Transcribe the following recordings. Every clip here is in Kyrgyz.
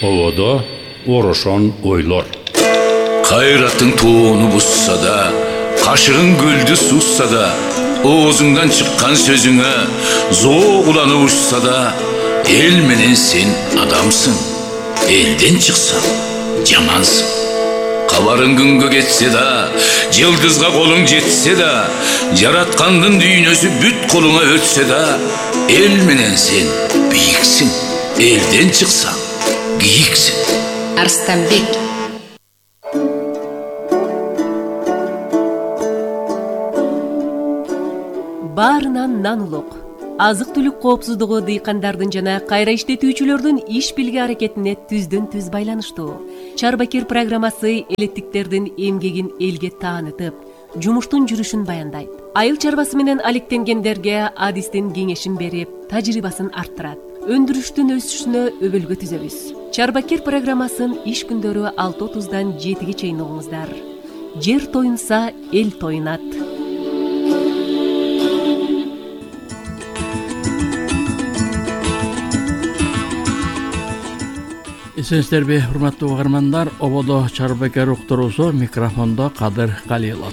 Ободо орошон ойлор. Кайраттың тоону бусса да, кашыгың көлдү сусса да, оозуңдан чыккан сөзүңө зоо уланып учса да, эл менен сен адамсың. Элден чыксаң жамансың. Кабарың күнгө кетсе да, жылдызга колуң жетсе да, жараткандын дүйнөсү бүт колуңа өтсө да, эл менен сен бийиксиң. Элден чыксаң кийиксиң. Арстанбек. Баарынан нан улук. Азык-түлүк коопсуздугу дыйкандардын жана кайра иштетүүчүлөрдүн иш билги аракетине түздөн-түз байланыштуу. Чарбакир программасы элеттиктердин эмгегин элге таанытып, жумуштун жүрүшүн баяндайт. Айыл чарбасы менен алектенгендерге адистин кеңешин берип, тажрыйбасын арттырат. Өндүрүштүн өсүшүнө өбөлгө түзөбүз. Чарбакир программасын иш күндөрү 6:30-дан 7-ге чейин угуңуздар. Жер тоюнса, эл тоюнат. Эсенсиздерби, урматтуу угармандар, Ободо Чарбакир уктуруусу, микрофондо Кадыр Калилов.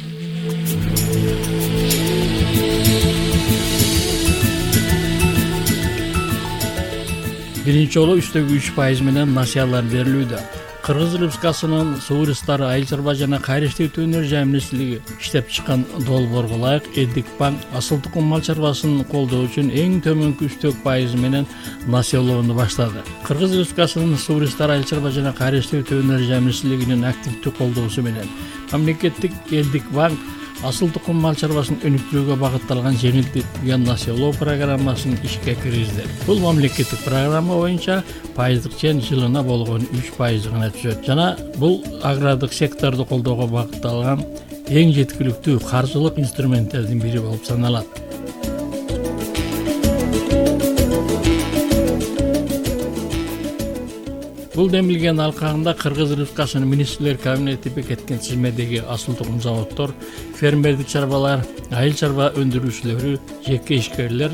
Биринчи жолу үстөгү 3% менен насыялар берилүүдө. Кыргыз Республикасынын суу ресурстары, айыл чарба жана кайра иштетүү өнөр министрлиги иштеп чыккан долбоорго ылайык Элдик банк асыл тукум мал чарбасын колдоо үчүн эң төмөнкү 3% менен насыялоону баштады. Кыргыз Республикасынын суу ресурстары, айыл чарба жана кайра иштетүү өнөр министрлигинин активдүү колдоосу менен мамлекеттик Элдик банк асыл тукум мал чарбасын өнүктүрүүгө багытталган жеңилдетилген насыялоо программасын ишке киргизди. Бул мамлекеттик программа боюнча пайыздык чен жылына болгон 3% гана түшөт жана бул агрардык секторду колдоого багытталган эң жеткиликтүү каржылык инструменттердин бири болуп саналат. Бул демилген алкагында Кыргыз Республикасынын министрлер кабинети бекиткен тизмедеги асыл тукум заводдор, фермердик чарбалар, айыл чарба өндүрүүчүлөрү, жеке ишкерлер,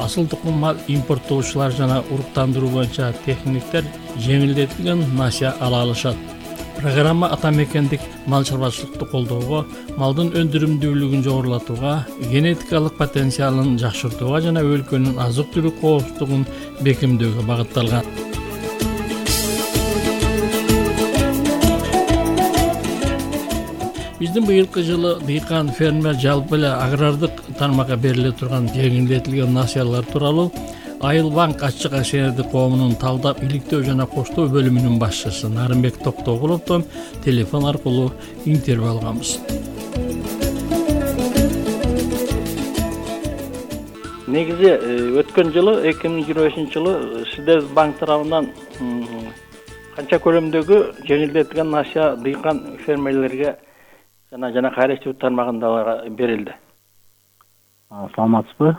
асыл тукум мал импорттоочулар жана уруктандыруу боюнча техниктер жеңилдетилген насыя ала алышат. Программа ата мекендик мал чарбачылыкты колдоого, малдын өндүрүмдүүлүгүн жогорулатууга, генетикалык потенциалын жакшыртууга жана өлкөнүн азык-түлүк коопсуздугун бекемдөөгө багытталган. Биздин быйылкы жылы дыйкан, фермер жалпы эле агрардык тармакка бериле турган жеңилдетилген насыялар тууралуу Айыл банк ачык акционердик коомунун талдап иликтөө жана коштоо бөлүмүнүн башчысы Нарымбек Токтогуловдон телефон аркылуу интервью алганбыз. Негизи өткөн жылы 2025 жылы сиздер банк тарабынан канча көлөмдөгү жеңилдетилген насыя дыйкан фермерлерге жана кайра иштетүү тармагындагыларга берилди? Саламатсызбы?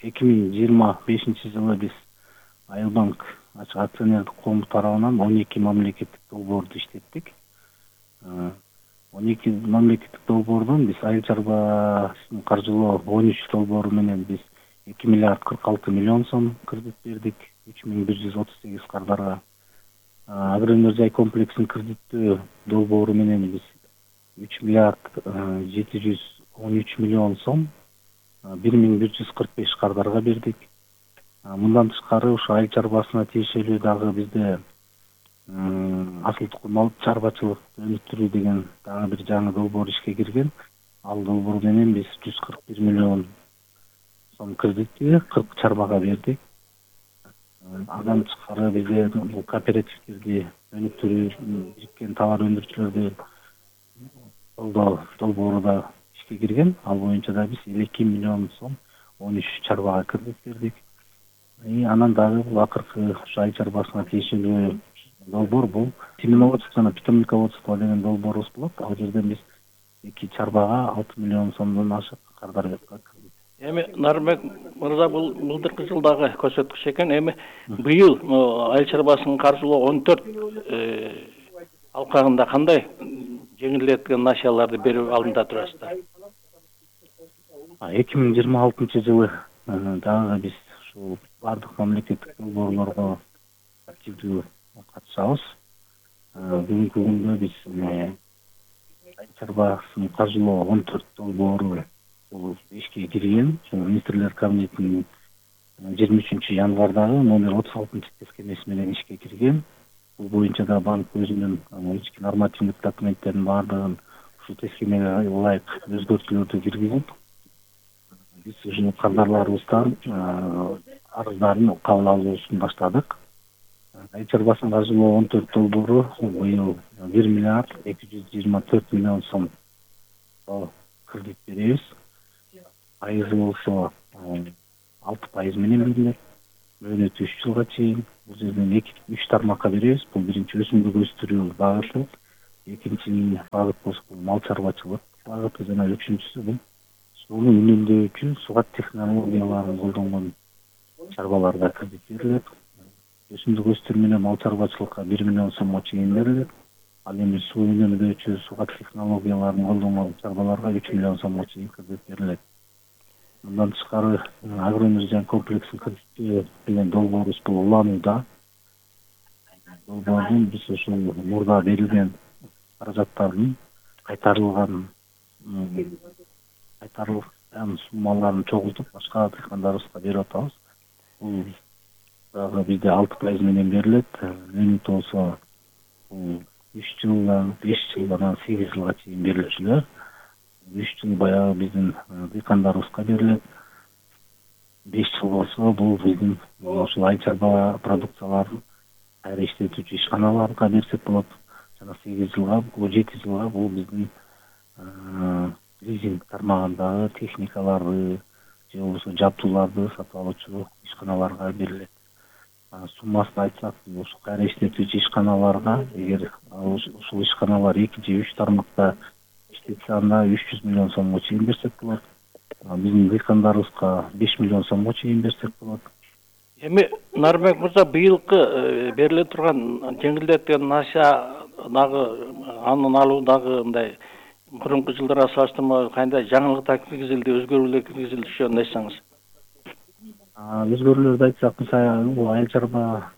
2025 жылы биз Айыл банк ачык акционердик коому тарабынан 12 мамлекеттик долбоорду иштеттик. 12 мамлекеттик долбоордон биз айыл чарбасын каржылоо 13 долбоору менен биз 2 миллиард 46 миллион сом кредит бердик 3138 кардарга. Агроөнөр жай комплексин кредиттөө долбоору менен биз 3 миллиард 713 миллион сом 1145 кардарга бердик. Мындан тышкары ушу айыл чарбасына тиешелүү дагы бизде асыл тукум мал чарбачылыкты өнүктүрүү деген дагы бир жаңы долбоор ишке кирген. Ал долбоор менен биз 141 миллион сом кредитти 40 чарбага бердик. Андан тышкары бизде бул кооперативдерди өнүктүрүү, бириккен товар өндүрүүчүлөрдү колдоо долбоору да ишке кирген. Ал боюнча да биз 2 миллион сом 13 чарбага кредит бердик. Анан дагы бул акыркы айыл чарбасына тиешелүү долбоор бул семеноводство жана питомниководство деген долбоорубуз болот. Ал жерден биз 2 чарбага 6 миллион сомдон ашык кардар бердик. Эми Нарымбек мырза, бул былтыркы жылдагы көрсөткүч экен. Эми быйыл айыл чарбасын каржылоо 14 алкагында кандай жеңилдетилген насыяларды берүү алдында турасыздар? 2026 жылы дагы биз ушул бардык мамлекеттик долбоорлорго активдүү катышабыз. Бүгүнкү күндө биз айыл чарбасын каржылоо 14 долбоору бул ишке кирген. Министрлер кабинетинин 23-январдагы номер 36-тескемеси менен ишке кирген. Бул боюнча да банк өзүнүн ички нормативдик документтердин баардыгын ушул тескемеге ылайык өзгөртүүлөрдү киргизип, биз ушул кардарларыбыздан арыздарын кабыл алуусун баштадык. Айыл чарбасын каржылоо 14 долбоору быйыл 1 миллиард 224 миллион сом кредит беребиз. Пайызы болсо 6% менен берилет. Мөөнөтү 3 жылга чейин. Бул жерден 2-3 тармакка беребиз. Бул биринчи өсүмдүк өстүрүү багыты, экинчи багыт болсо мал чарбачылык багыты жана үчүнчүсү бул сууну үнөмдөөчү сугат технологияларын колдонгон чарбаларга кредит берилет. Өсүмдүк өстүрүү менен мал чарбачылыкка 1 миллион сомго чейин берилет. Ал эми суу үнөмдөөчү сугат технологияларын колдонгон чарбаларга 3 миллион сомго чейин кредит берилет. Мындан тышкары агроэнергия комплексин кредит менен долбоорубуз бул уланууда. Долбоордун биз ушул мурда берилген каражаттардын кайтарылган суммаларын чогултуп башка дыйкандарыбызга берип атабыз. Бул дагы бизде 6% менен берилет. Мөөнөт болсо 3 жылдан 5 жылдан 8 жылга чейин берилчүлөр. 3 жыл баягы биздин дыйкандарыбызга берилет. 5 жыл болсо бул биздин ушул айыл чарба продукцияларын кайра иштетүүчү ишканаларга берсек болот. Жана 8 жылга, 7 жылга бул биздин лизинг тармагындагы техникаларды же болбосо жабдууларды сатып алуучу ишканаларга берилет. Суммасын айтсак, ушул кайра иштетүүчү ишканаларга эгер ушул ишканалар 2 же 3 тармакта иштетсе, анда 300 миллион сомго чейин берсек болот. Биздин дыйкандарыбызга 5 миллион сомго чейин берсек болот. Эми Нарбек мырза, быйылкы бериле турган жеңилдетилген насия дагы анын алуу дагы мындай мурунку жылдарга салыштырмалуу кандай жаңылыктар киргизилди, өзгөрүүлөр киргизилди, ошону айтсаңыз. Өзгөрүүлөрдү айтсак, мисалы бул айыл чарба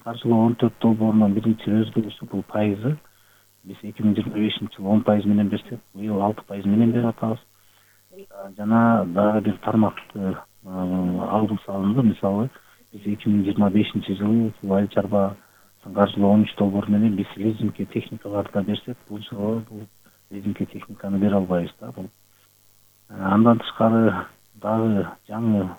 каржылоо 14 долбоорунун биринчи өзгөрүүсү бул пайызы. Биз 2025-жылы 10% менен берсек, быйыл 6% менен берип атабыз. Жана дагы бир тармакты алгы салынды. Мисалы, биз 2025-жылы айыл чарбасын каржылоо 13 долбоор менен биз лизингке техникаларды да берсек, бул жылы бул лизингке техниканы бере албайбыз да. Андан тышкары дагы жаңы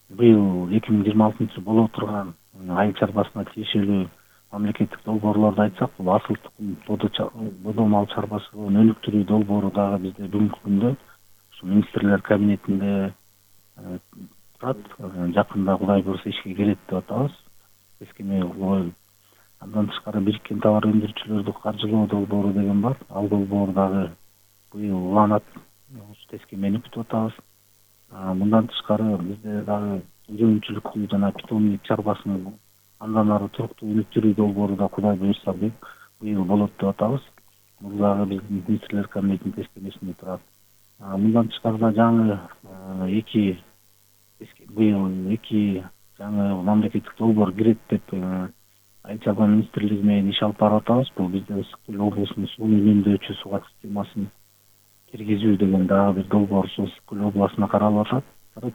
быйыл 2026-жылы боло турган айыл чарбасына тиешелүү мамлекеттик долбоорлорду айтсак, бул асыл тукум бодо мал чарбачылыгын өнүктүрүү долбоору дагы бизде бүгүнкү күндө ушу министрлер кабинетинде турат. Жакында Кудай буйруса ишке кирет деп атабыз. Тескеме коюлуп. Андан тышкары бириккен товар өндүрүүчүлөрдү каржылоо долбоору деген бар. Ал долбоор дагы быйыл уланат. Ушу тескемени күтүп атабыз. Мындан тышкары бизде дагы жөнчүлүктүү жана питомник чарбасынын андан ары туруктуу өнүктүрүү долбоору да Кудай буйруса быйыл болот деп атабыз. Бул дагы биздин министрлер кабинетинин тескемесинде турат. Мындан тышкары жаңы быйыл 2 жаңы мамлекеттик долбоор кирет деп айыл чарба министрлиги менен иш алып барып атабыз. Бул бизде Ысык Көл облусунун сууну үнөмдөөчү сугат системасын киргизүү деген дагы бир долбоор Ысык Көл областына каралып атат.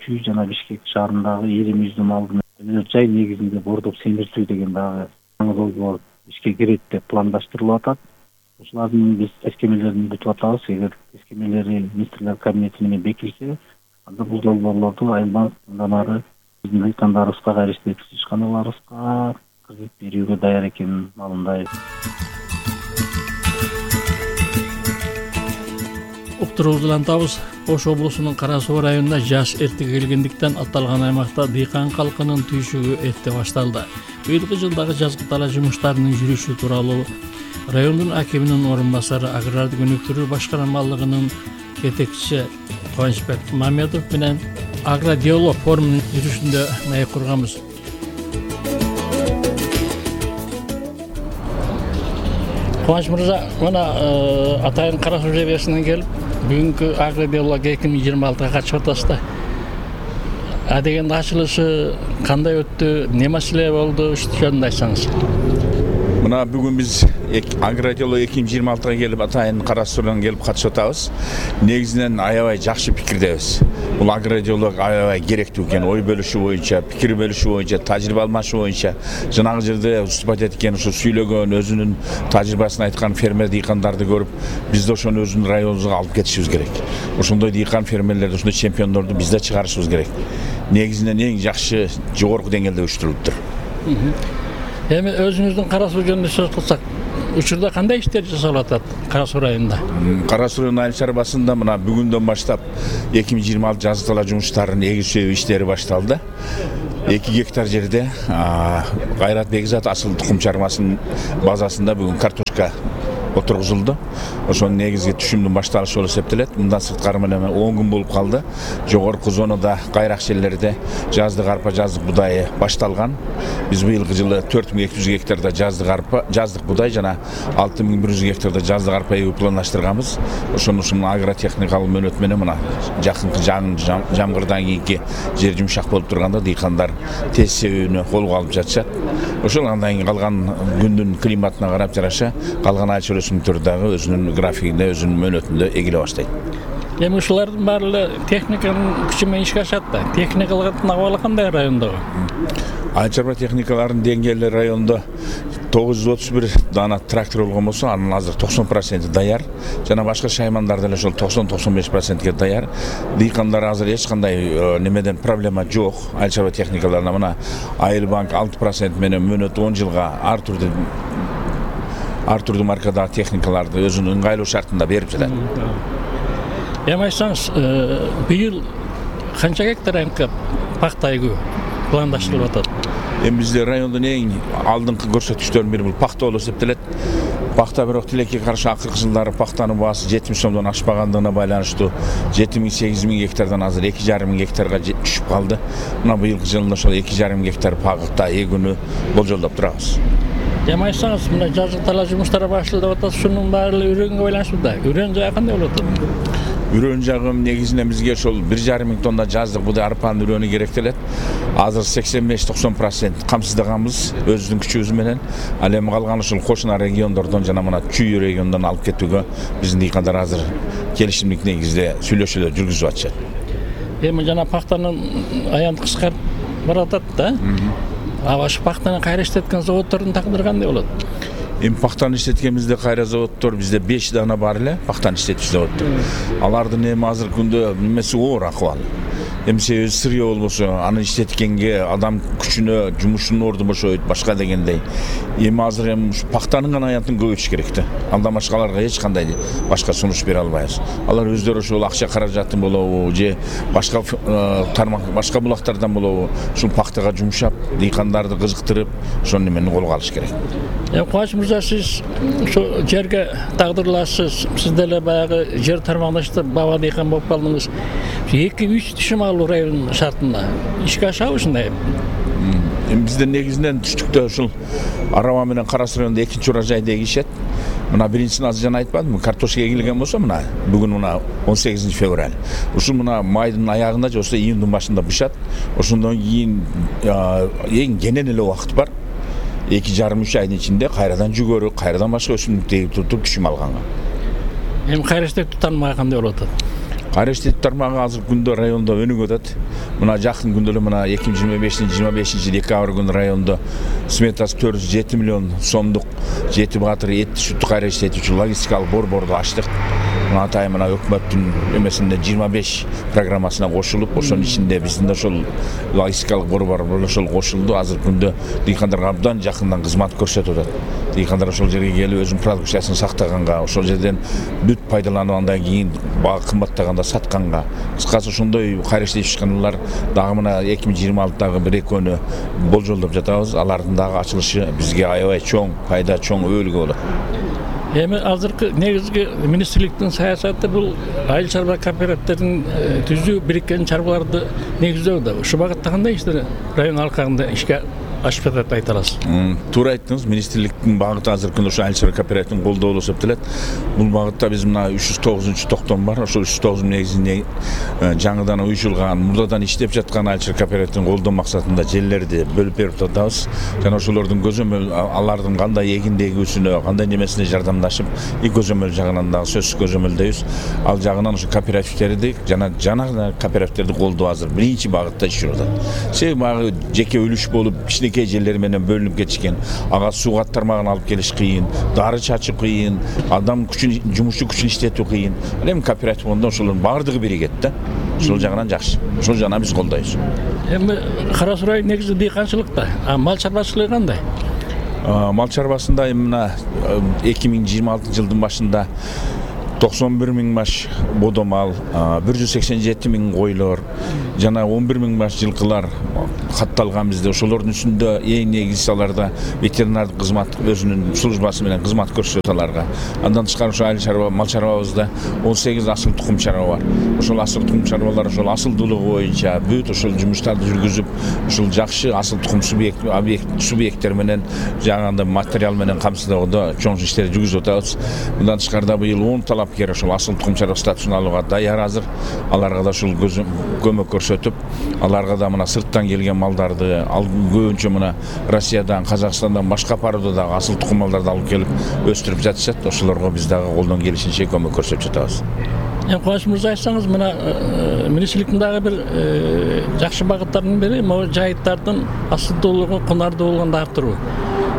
Чүй жана Бишкек шаарындагы 20 малдын өнөр жай негизинде бордоп семиртүү деген дагы жаңы долбоор ишке кирет деп пландаштырылып атат. Ушулардын биз тескемелерин күтүп атабыз. Эгер тескемелери министрлер кабинети менен бекилсе, анда бул долбоорлорду айылдан андан ары биздин дыйкандарыбызга, кайра иштетүүчү ишканаларыбызга кредит берүүгө даяр экенин маалымдайбыз. Уктуруулантабыз. Ош облусунун Кара Суу районуна жаз эрте келгендиктен аталган аймакта дыйкан калкынын түйшүгү эрте башталды. Быйылкы жылдагы жазгы дала жумуштарынын жүрүшү тууралуу райондун акиминин орун басары агрардык өнүктүрүү башкармалыгынын жетекчиси Кубанычбек Мамедов менен агродиалог форумунун жүрүшүндө маек курганбыз. Кубаныч мырза, мына атайын Кара Суу жебесинен келип, бүгүнкү агродиалог 2026-га катышып атасыз да. деген ачылышы кандай өттү, не маселе болду, ушул жөнүндө айтсаңыз. Мына бүгүн биз Агротело 2026-га келип атайын караштыруудан келип катышып атабыз. Негизинен аябай жакшы пикирдебиз. Бул Агротело аябай керектүү экен, ой бөлүшүү боюнча, пикир бөлүшүү боюнча, тажрыйба алмашуу боюнча. Жанагы жерде выступать эткен, ушу сүйлөгөн, өзүнүн тажрыйбасын айткан фермер дыйкандарды көрүп, биз да ошону өзүнүн районубузга алып кетишибиз керек. Ошондой дыйкан фермерлерди, ошондой чемпиондорду биз да чыгарышыбыз керек. Негизинен эң жакшы жогорку деңгээлде уюштурулуптур. Эми өзүңүздүн Кара Суу жөнүндө сөз кылсак, учурда кандай иштер жасалып атат Кара Суу районунда? Кара Суу айыл чарбасында мына бүгүндөн баштап 2026 жазгы талаа жумуштарынын эгүү иштери башталды. 2 гектар жерде Кайрат Бекзат асыл тукум чарбасынын базасында бүгүн картошка отургузулду. Ошонун негизги түшүмдүн башталышы болуп эсептелет. Мындан сырткары менен 10 күн болуп калды. Жогорку зонада кайрак жерлерде жаздык арпа, жаздык будайы башталган. Биз быйылкы жылы 4200 гектарда жаздык арпа, жаздык будай жана 6100 гектарда жаздык арпа эгүү пландаштырганбыз. Ошонун агротехникалык мөөнөт менен мына жакынкы жамгырдан кийинки жер жумшак болуп турганда дыйкандар тез себүүнү колго алып жатышат. Ошол андан кийин калган күндүн климатына карап жараша калган айыл өсүмдүктөр дагы өзүнүн графигинде, өзүнүн мөөнөтүндө эгиле баштайт. Эми ушулардын баары техниканын күчү менен ишке ашат да. Техникалык абалы кандай райондо? Айыл чарба техникаларынын деңгээли райондо 931 дана трактор болгон болсо, анын азыр 90% даяр. Жана башка шаймандар деле ошол 90-95%ге даяр. Дыйкандар азыр эч кандай немеден проблема жок. Айыл чарба техникаларына мына Айыл банк 6% менен мөөнөт 10 жылга ар түрдүү маркадагы техникаларды өзүнүн ыңгайлуу шартында берип жатат. Эми айтсаңыз, быйыл канча гектар пахта эгүү пландаштырылып атат? Эми бизде райондун эң алдыңкы көрсөткүчтөрүнүн бири бул пахта болуп эсептелет. Пахта бирок тилекке каршы акыркы жылдары пахтанын баасы 70 сомдон ашпагандыгына байланыштуу 7000-8000 гектардан азыр 2,5 гектарга түшүп калды. Мына быйылкы жылда ошол 2,5 гектар пахта эгүүнү болжолдоп турабыз. Эми айтсаңыз, мына жазгы талаа жумуштары башталып атат, ушунун баары үрөнгө байланыштуу да. Үрөн жагы кандай болуп атат? Үрөн жагы негизинен бизге ошол 1,5 миң тонна жаздык будай арпанын үрөнү керектелет. Азыр 85-90% камсыздаганбыз өзүбүздүн күчүбүз менен. Ал эми калган ушул кошуна региондордон жана мына Чүй регионунан алып кетүүгө биздин дыйкандар азыр келишимдик негизде сүйлөшүүлөр жүргүзүп атышат. Эми жана пахтанын аянты кыскарып баратат да. Ашы пахтаны кайра иштеткен заводдордун тагдыры кандай болот? Эми пахтаны иштеткенибизде кайра заводдор бизде 5 дана бар эле, пахтаны иштетүүчү заводдор. Алардын эми азыркы күндө немеси оор акыбалы. Эми себеби сырье болбосо, аны иштеткенге адам күчүнө, жумушунун орду бошойт, башка дегендей. Эми азыр эми пахтанын гана аянтын көбөйтүш керек да. Андан башка аларга эч кандай башка сунуш бере албайбыз. Алар өздөрү ошол акча каражатын болобу, же башка тармак, башка булактардан болобу, ушул пахтага жумшап, дыйкандарды кызыктырып, ошол немени колго алыш керек. Кубаныч мырза, сиз ошо жерге тагдырлашсыз. Сиз деле баягы жер тармагында иштеп баба дыйкан болуп калдыңыз. 2-3 түшүм алуу районунун шартында ишке ашабы ушундай? Эми бизде негизинен түштүктө ушул Араба менен Кара Суу районунда экинчи урожайды эгишет. Мына биринчисин азыр жана айтпадымбы, картошка эгилген болсо мына бүгүн мына 18 февраль. Ушул мына майдын аягында же болбосо июндун башында бышат. Ошондон кийин эң кенен эле убакыт бар. 2,5-3 айдын ичинде кайрадан жүгөрү, кайрадан башка өсүмдүк эгип туруп түшүм алганга. Эми кайра иштетүү тармагы кандай болуп атат? Кайра иштетүү тармагы азыркы күндө райондо өнүгүп атат. Мына жакын күндө эле мына 2025 декабрь күнү райондо сметасы 407 миллион сомдук 7 баатыр этти сүттү кайра иштетүүчү логистикалык борборду ачтык. Мына атайын мына өкмөттүн эмесинде 25 программасына кошулуп, ошонун ичинде биздин да ошол логистикалык борбор ошол кошулду. Азыркы күндө дыйкандарга абдан жакындан кызмат көрсөтүп атат. Дыйкандар ошол жерге келип өзүнүн продукциясын сактаганга, ошол жерден бүт пайдаланып андан кийин бага кымбаттаганда сатканга, кыскасы ошондой кайра иштетүүчүлөр дагы мына 2026-дагы 1-2 болжолдоп жатабыз. Алардын дагы ачылышы бизге аябай чоң пайда, чоң өбөлгө болот. Эми азыркы негизги министрликтин саясаты бул айыл чарба кооперативдерин түзүү, бириккен чарбаларды негиздөө да. Ушул багытта кандай иштер район алкагында ишке ашып жатат айта аласыз? Туура айттыңыз. Министрликтин багыты азыркы күндө ошо айыл чарба кооперативин колдоо эсептелет. Бул багытта биз мына 309-токтом бар. Ошол 309 негизинде жаңыдан уюшулган, мурдадан иштеп жаткан айыл чарба кооперативин колдоо максатында жерлерди бөлүп берип атабыз. Жана ошолордун көзөмөл алардын кандай эгиндегүүсүнө, кандай немесине жардамдашып, көзөмөл жагынан дагы сөзсүз көзөмөлдөйбүз. Ал жагынан ошо кооперативтерди жана кооперативтерди колдоо азыр биринчи багытта иштеп атат. Себеби багы жеке үлүш болуп кичинекей жерлер менен бөлүнүп кетишкен. Ага суу каттармагын алып келиш кыйын, дары чачуу кыйын, адам күчүн, жумушчу күчүн иштетүү кыйын. Эми кооператив болгондо ошолордун баардыгы биригет да. Ошол жагынан жакшы. Ошол жагынан биз колдойбуз. Эми Кара Суу негизи дыйканчылыкта, мал чарбачылыгы кандай? Мал чарбасында мына 2026 жылдын башында 91 миң баш бодомал, 187 миң койлор жана 11 миң баш жылкылар катталган бизде. Ошолордун үстүндө эң негизгиси аларда ветеринардык кызмат өзүнүн службасы менен кызмат көрсөтөт аларга. Андан тышкары ошо айыл чарба, мал чарбабызда 18 асыл тукум чарба бар. Ошол асыл тукум чарбалар ошол асылдуулугу боюнча бүт ошол жумуштарды жүргүзүп, ошол жакшы асыл тукум субъекттер менен жаңагындай материал менен камсыздоодо чоң иштерди жүргүзүп атабыз. Мындан тышкары быйыл 10 талапкер ошол асыл тукум чарба статусун алууга даяр азыр. Аларга да ушул көмөк көрсөтүп, аларга да мына сырттан келген малдарды, көбүнчө мына Россиядан, Казакстандан башка пароодо дагы асыл тукум малдарды алып келип өстүрүп жатышат. Ошолорго биз дагы колдон келишинче көмөк көрсөтүп жатабыз. Кубаныч мырза, айтсаңыз, мына министрликтин дагы бир жакшы багыттарынын бири могу жайыттардын асылдуулугу, кунардуулугун арттыруу.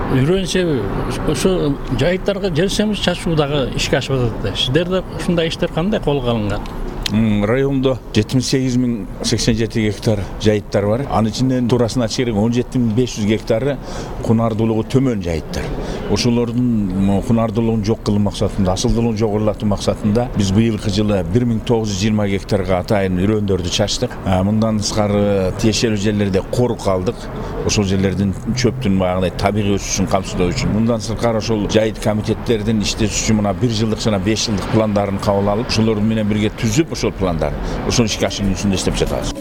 Үрөн себеби ошо жайыттарга жер семиз чачуу дагы ишке ашып атат. Сиздерде ушундай иштер кандай колго алынган? Райондо 78.087 гектар жайыттар бар. Анын ичинен туурасына айтыш керек 17.500 гектары кунардуулугу төмөн жайыттар. Ошолордун кунардуулугун жок кылуу максатында, асылдуулугун жогорулатуу максатында биз быйылкы жылы 1920 гектарга атайын үрөндөрдү чачтык. Мындан тышкары тиешелүү жерлерде корук алдык. Ошол жерлердин чөптүн баягыдай табигый өсүшүн камсыздоо үчүн. Мындан сырткары ошол жайыт комитеттердин иштетүүчү мына 1 жылдык жана 5 жылдык пландарын кабыл алып, ошолор менен бирге түзүп ошол пландар, ошол ишке ашыруусунда иштеп жатабыз.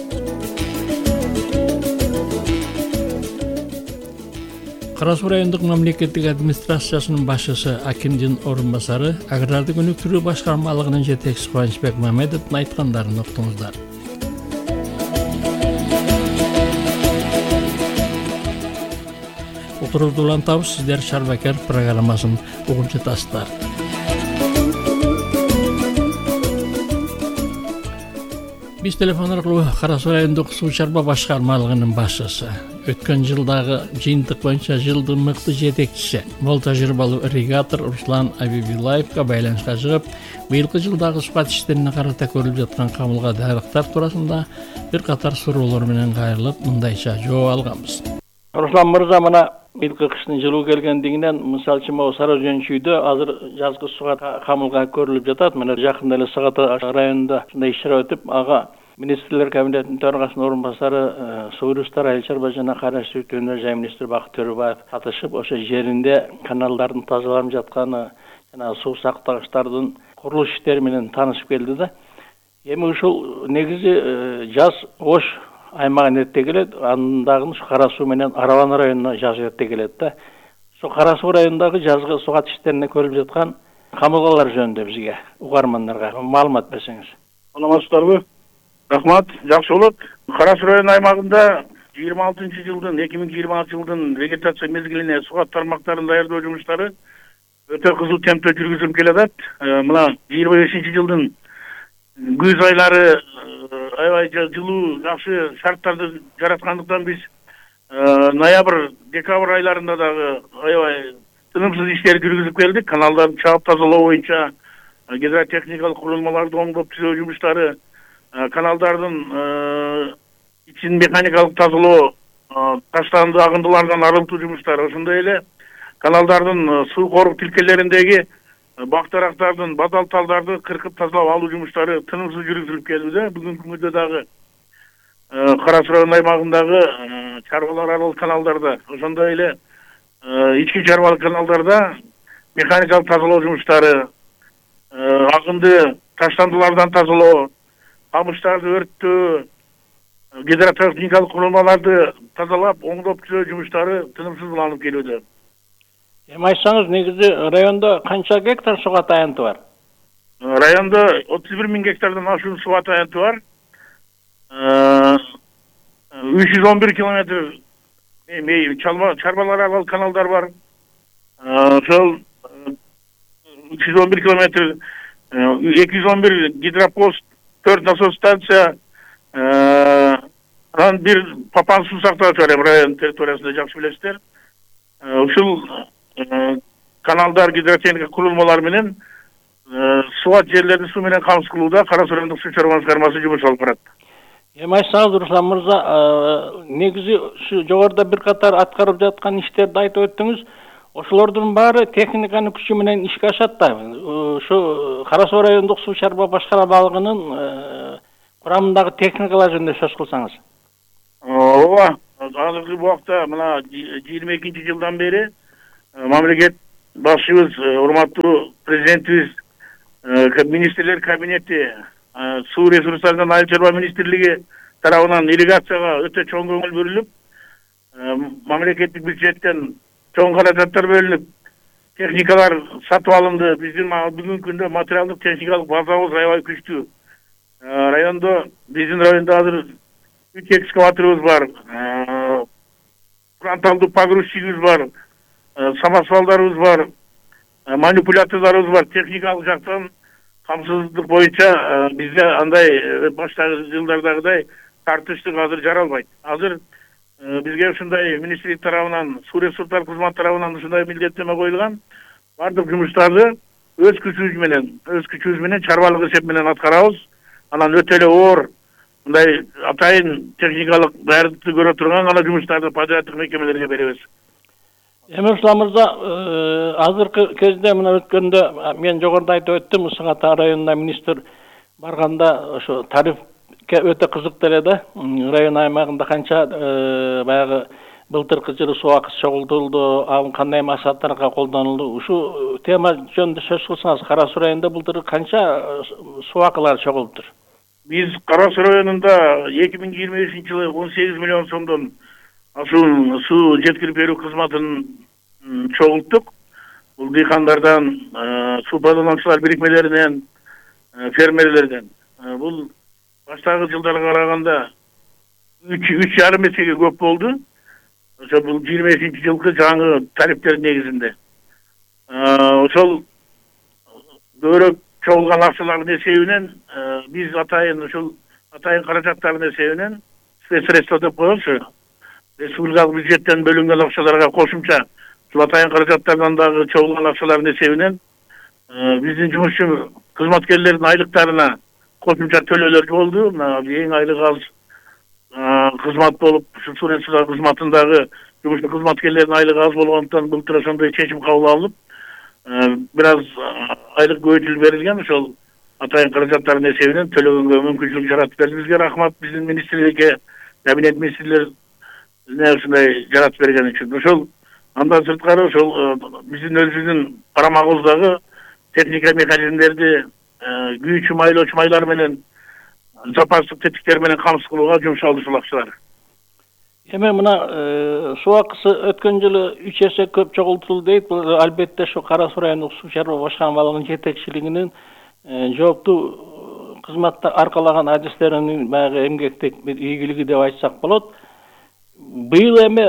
Кара Суу райондук мамлекеттик администрациясынын башчысы Акимдин орун басары агрардык өнүктүрүү башкармалыгынын жетекчиси Кубанычбек Мамедовдун айткандарын уктуңуздар. Отуруп улантабыз, сиздер Шарбакер программасын угуп жатасыздар. Биз телефон аркылуу Кара Суу райондук суу чарба башкармалыгынын башчысы, өткөн жылдагы жыйынтык боюнча жылдын мыкты жетекчиси, мол тажрыйбалуу ирригатор Руслан Абибилаевга байланышка чыгып, быйылкы жылдагы сухат иштерине карата көрүлүп жаткан камылга дайрыктар туурасында бир катар суроолор менен кайрылып, мындайча жооп алганбыз. Руслан мырза, мына быйылкы кыштын жылуу келгендигинен, мисалы үчүн могу Сара Өзөнчүйдө азыр жазгы сухат камылга көрүлүп жатат. Мына жакында эле Сагат районунда ушундай иш-чара өтүп, ага министрлер кабинетинин төрагасынын орун басары Суу ресурстар, айыл чарба жана кайра иштетүү өнөр жай министри Бакыт Төрөбаев катышып, ошо жеринде каналдардын тазаланып жатканы жана суу сактагычтардын курулуш иштери менен таанышып келди да. Эми ушул негизи жаз Ош аймагын эрте келет, андагы Кара Суу менен Аралан районуна жаз эрте келет да. Ошо Кара Суу районундагы жазгы сухат иштерине көрүлүп жаткан камылгалар жөнүндө бизге, угармандарга маалымат берсеңиз. Саламатсыздарбы? Рахмат, жакшы болот. Кара Суу району аймагында 2026 жылдын вегетация мезгилине сухат тармактарын даярдоо жумуштары өтө кызуу темпте жүргүзүлүп келатат. Мына 25 жылдын күз айлары аябай жылуу жакшы шарттарды жараткандыктан биз ноябрь, декабрь айларында дагы аябай тынымсыз иштер жүргүзүп келдик. Каналдарды чаап тазалоо боюнча гидротехникалык курулмаларды оңдоп түзөө жумуштары, каналдардын ичин механикалык тазалоо, таштанды агындылардан арылтуу жумуштары, ошондой эле каналдардын суу корук тилкелериндеги бактарактардын бадал талдарды кыркып тазалап алуу жумуштары тынымсыз жүргүзүлүп келди да. Бүгүнкү күндө дагы Кара Суу району аймагындагы чарбалар аралык каналдарда, ошондой эле ички чарбалык каналдарда механикалык тазалоо жумуштары, агынды таштандылардан тазалоо, камыштарды өрттөө, гидротехникалык курулмаларды тазалап, оңдоп түзөө жумуштары тынымсыз уланып келүүдө. Эми айтсаңыз, негизи райондо канча гектар суга таянты бар? Районда 31 000 гектардан ашуун суга таянты бар. 311 километр чарбалар аркылуу каналдар бар. Ошол 311 километр, 211 гидропост, 4 насос станция, анан бир папан суу сактагыч бар район территориясында, жакшы билесиздер. Ушул каналдар, гидротехника курулмалары менен сууат жерлерди суу менен камсыз кылууда Кара Суу райондук суу чарба башкармасы жумуш алып барат. Эми айтсаңыз, Руслан мырза, негизи ушу жогоруда бир катар аткарып жаткан иштерди айтып өттүңүз. Ошолордун баары техниканын күчү менен ишке ашат да. Ушу Кара Суу райондук суу чарба башкармалыгынын курамындагы техникалар жөнүндө сөз кылсаңыз. Ооба, азыркы убакта мына 22-жылдан бери мамлекет башчыбыз, урматтуу президентибиз, министрлер кабинети, суу ресурстарынан айыл чарба министрлиги тарабынан ирригацияга өтө чоң көңүл бөлүнүп, мамлекеттик бюджеттен чоң каражаттар бөлүнүп, техникалар сатып алынды. Биздин бүгүнкү күндө материалдык техникалык базабыз аябай күчтүү. Биздин райондо азыр 3 экскаваторубуз бар, фронталдуу погрузчигибиз бар, самосвалдарыбыз бар, манипуляторлорубуз бар. Техникалык жактан камсыздык боюнча бизде андай баштагы жылдардагыдай тартыштык азыр жаралбайт. Азыр бизге ушундай министрлик тарабынан, суу ресурстар кызмат тарабынан ушундай милдеттеме коюлган. Бардык жумуштарды өз күчүбүз менен чарбалык эсеп менен аткарабыз. Анан өтө эле оор мындай атайын техникалык даярдыкты көрө турган гана жумуштарды подряддык мекемелерге беребиз. Эми Руслан мырза, азыркы кезде мына өткөндө мен жогоруда айтып өттүм, Ысык Ата районуна министр барганда ошо тарифке өтө кызыктуу эле да. Район аймагында канча баягы былтыркы жылы суу акысы чогултулду, ал кандай максаттарга колдонулду? Ушу тема жөнүндө сөз кылсаңыз, Кара Суу районунда былтыр канча суу акылары чогулуптур? Биз Кара Суу районунда 2025-жылы 18 миллион сомдон ашуун суу жеткирип берүү кызматын чогулттук. Бул дыйкандардан, суу пайдалануучулар бирикмелеринен, фермерлерден. Бул баштагы жылдарга караганда 3,5 эсеге көп болду. Ошо бул 25-жылкы жаңы тарифтер негизинде. Ошол көбүрөөк чогулган акчалардын эсебинен биз атайын каражаттардын эсебинен спецсредство деп коебуз. Республикалык бюджеттен бөлүнгөн акчаларга кошумча ушул атайын каражаттардан дагы чогулган акчалардын эсебинен биздин жумушчу кызматкерлердин айлыктарына кошумча төлөөлөр болду. Эң айлык аз кызмат болуп, ушул суу ресурстар кызматындагы жумушчу кызматкерлердин айлыгы аз болгондуктан былтыр ошондой чечим кабыл алынып, бир аз айлык көбөйтүлүп берилген. Ошол атайын каражаттардын эсебинен төлөгөнгө мүмкүнчүлүк жаратып берди. Бизге рахмат, биздин министрликке, кабинет министрлер ушундай жаратып берген үчүн. Ошол андан сырткары ошол биздин өзүбүздүн карамагыбыздагы техника механизмдерди күйүүчү майлоочу майлар менен, запастык тетиктер менен камсыз кылууга жумшалды ушул акчалар. Эми мына суу акысы өткөн жылы 3 эсе көп чогултулду дейт. Бул албетте ошо Кара Суу райондук суу чарба башкармалыгынын жетекчилигинин жооптуу кызматта аркалаган адистеринин баягы эмгектик бир ийгилиги деп айтсак болот. Быйыл эми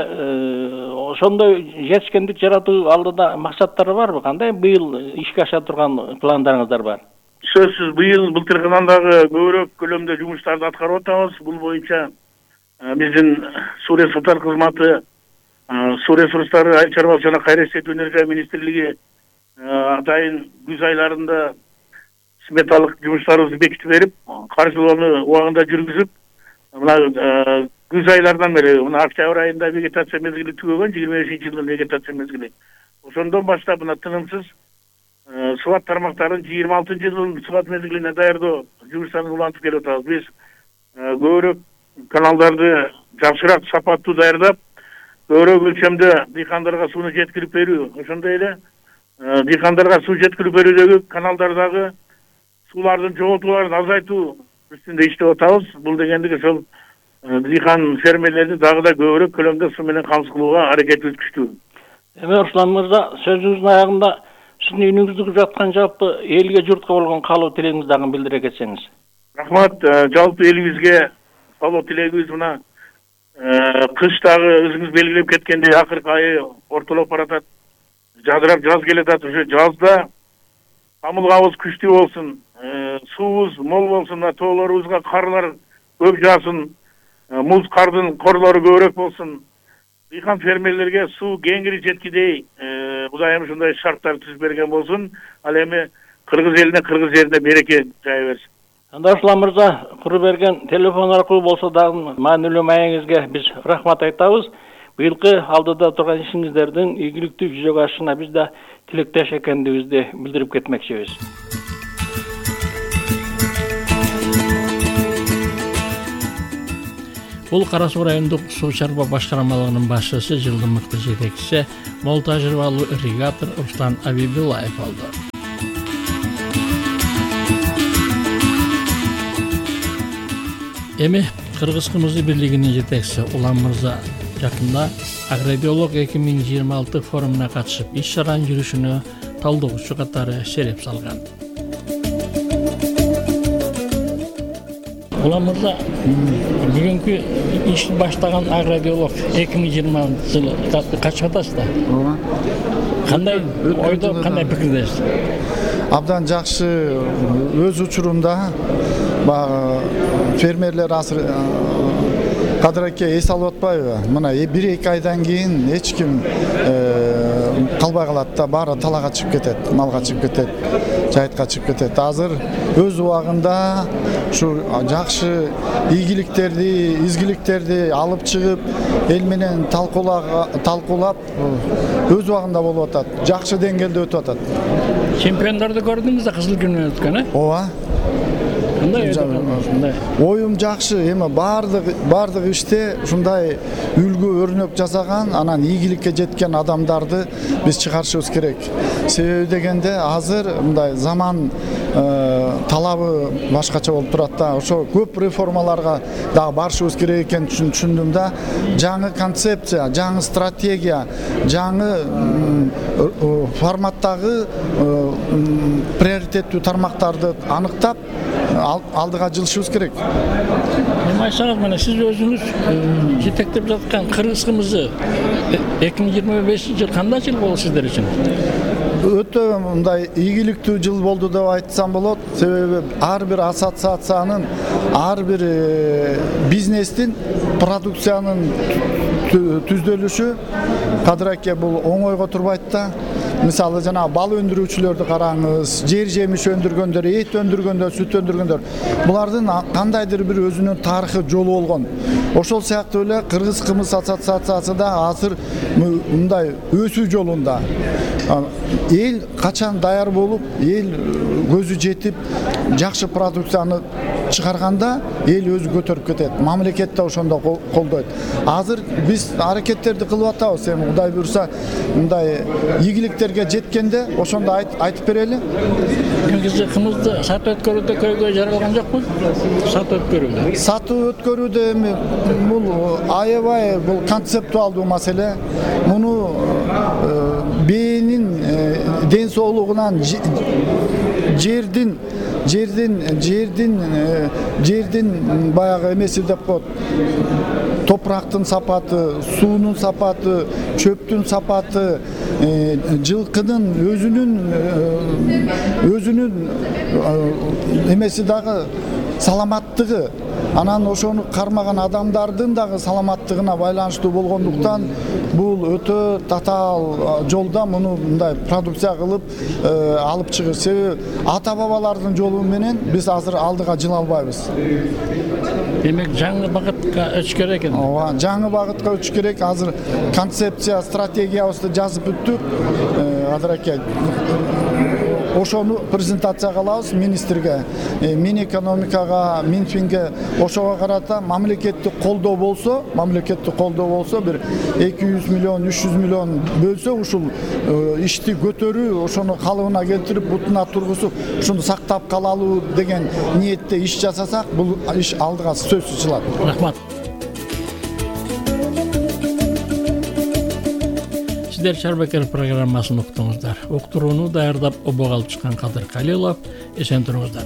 ошондой жетишкендик жаратуу алдыда максаттары барбы? Кандай быйыл ишке аша турган пландарыңыздар бар? Сөзсүз быйыл былтыркынан дагы көбүрөөк көлөмдө жумуштарды аткарып атабыз. Бул боюнча биздин суу ресурстар кызматы, суу ресурстары айыл чарбасы жана кайра иштетүү өнөр жай министрлиги атайын күз айларында сметалык жумуштарыбызды бекитип берип, каржылоону убагында жүргүзүп, мына күз айлардан бери, мына октябрь айында вегетация мезгили түгөгөн, 25-жылдын вегетация мезгили. Ошондон баштап мына тынымсыз субат тармактарын 26-жылдын субат мезгилине даярдоо жумуштарын улантып келип атабыз. Биз көбүрөөк каналдарды жакшыраак сапаттуу даярдап, көбүрөөк өлчөмдө дыйкандарга сууну жеткирип берүү, ошондой эле дыйкандарга суу жеткирип берүүдөгү каналдардагы суулардын жоготууларын азайтуу үстүндө иштеп атабыз. Бул дегендик ошол дыйкан фермерлерди дагы да көбүрөөк көлөмдө суу менен камсыз кылууга аракетибиз күчтүү. Эми Руслан мырза, сөзүңүздүн аягында сиздин үйүңүздө жаткан жалпы элге журтка болгон каалоо тилегиңизди дагы билдире кетсеңиз. Рахмат, жалпы элибизге салоо тилегибиз мына кыш дагы өзүңүз белгилеп кеткендей акыркы айы ортолоп баратат. Жадырап жаз келатат. Уже жазда тамылгабыз күчтүү болсун, суубуз мол болсун, тоолорубузга карлар көп жаасын, муз кардын корлору көбүрөөк болсун. Дыйкан фермерлерге суу кеңири жеткидей Кудайым ушундай шарттар түзүп берген болсун. Ал эми кыргыз элине, кыргыз жерине береке жая берсин. Анда Руслан мырза, куруп берген телефон аркылуу болсо дагы маанилүү маегиңизге биз рахмат айтабыз. Быйылкы алдыда турган ишиңиздердин ийгиликтүү жүзөгө ашышына биз да тилектеш экендигибизди билдирип кетмекчибиз. Бул Кара Суу райондук суу чарба башкармалыгынын башчысы, жылдын мыкты жетекчиси, мол тажрыйбалуу ирригатор Руслан Абибуллаев болду. Эми Кыргыз Кымызы бирлигинин жетекчиси Улан мырза жакында Агробиолог 2026 форумуна катышып, иш-чаранын жүрүшүнө талдоочу катары шереп салган. Улан мырза, бүгүнкү ишти баштаган Агробиолог 2020 жылы качып атасыз да? Ооба. Кандай ойдо, кандай пикирдесиз? Абдан жакшы. Өз учурунда фермерлер азыр кадыракке эс алып атпайбы? Мына 1-2 айдан кийин эч ким калбай калат да, баары талага чыгып кетет, малга чыгып кетет, жайытка чыгып кетет. Азыр өз убагында ушу жакшы ийгиликтерди, изгиликтерди алып чыгып, эл менен талкуулап өз убагында болуп атат. Жакшы деңгээлде өтүп атат. Чемпиондорду көрдүңүз да, кызыл күнү өткөн, Ооба. Оюм жакшы, эми бардык иште ушундай үлгү өрнөк жасаган, анан ийгиликке жеткен адамдарды биз чыгарышыбыз керек. Себеби дегенде азыр мындай заман талабы башкача болуп турат да. Ошо көп реформаларга дагы барышыбыз керек экенин түшүндүм да. Жаңы концепция, жаңы стратегия, жаңы форматтагы приоритеттүү тармактарды аныктап алдыга жылышыбыз керек. Айсаңыз, мына сиз өзүңүз жетектеп жаткан Кыргыз Кымызы 2025 жыл кандай жыл болду сиздер үчүн? Өтө мындай ийгиликтүү жыл болду деп айтсам болот. Себеби ар бир ассоциациянын, ар бир бизнестин продукциянын түздөлүшү кадыракке бул оңойго турбайт да. Мисалы жана бал өндүрүүчүлөрдү караңыз, жер жемиш өндүргөндөр, эт өндүргөндөр, сүт өндүргөндөр. Булардын кандайдыр бир өзүнүн тарыхы жолу болгон. Ошол сыяктуу эле Кыргыз Кымыз ассоциациясы да азыр мындай өсүү жолунда. Эл качан даяр болуп, эл көзү жетип, жакшы продукцияны чыгарганда эл өзү көтөрүп кетет. Мамлекет да ошондо колдойт. Азыр биз аракеттерди кылып атабыз. Эми Кудай буйруса, мындай ийгиликтерге жеткенде ошондо айтып берели. Кымызды сатып өткөрүүдө көйгөй жаралган жокпу? Сатып өткөрүүдө эми бул аябай бул концептуалдуу маселе. Муну бээнин ден соолугунан жердин баягы эмеси деп коет. Топурактын сапаты, суунун сапаты, чөптүн сапаты, жылкынын өзүнүн эмеси дагы саламаттыгы, анан ошону кармаган адамдардын дагы саламаттыгына байланыштуу болгондуктан бул өтө татаал жолда муну мындай продукция кылып алып чыгыш. Себеби ата бабалардын жолу менен биз азыр алдыга жыла албайбыз. Демек жаңы багытка өтүш керек экен. Ооба, жаңы багытка өтүш керек. Азыр концепция, стратегиябызды жазып бүттүк. Адыраке ошону презентация кылабыз министрге, Минэкономикага, Минфинге, ошого карата мамлекеттик колдоо болсо, бир 200 миллион, 300 миллион бөлсө, ушул ишти көтөрүү, ошону калыбына келтирип, бутуна тургузуп, ушуну сактап калалуу деген ниетте иш жасасак, бул иш алдыга сөзсүз чыгат. Рахмат. сиздер Чарбакер программасын уктуңуздар. Уктурууну даярдап обого алып чыккан Кадыр Калилов. Эсен туруңуздар.